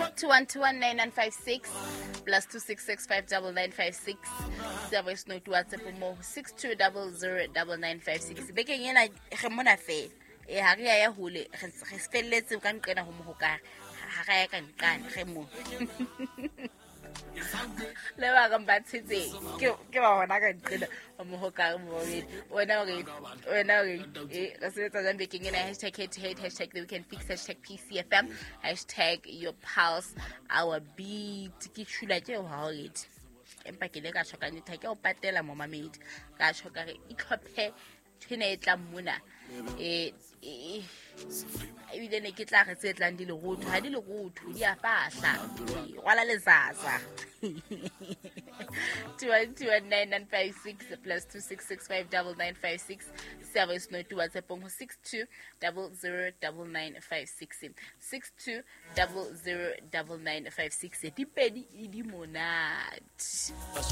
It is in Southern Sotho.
21219956 plus 2665956 sa voice note WhatsApp mo 62009956. Bekeng ena re mona fela, e ha re ya ya hole, re felletse ka nqena ho mohokare, ha re ya ka nqane, re mo le ba bang ba tshetseng ke ba hona ka nqena ho mohokare. Momamedi, wena o reng? Wena o reng? E re sebetsa jang bekeng ena? #HeadToHead, #TheWeekendFix, #PCFM, #YourPulse our beat. Ke tshula ke ho ha o ready, empa ke ile ka tjho ka nnete, ha ke o patela, momamedi, ka tjho ka re itlhophe ntho e tlang mona. Ebile ne ke tla re tse tlang di lerotho, ha di lerotho, di a fahla. Rwala lezaza. 2129956 plus 26659956. Sa voice note WhatsAppong ho 62009956, 62009956. Di pedi e di monate.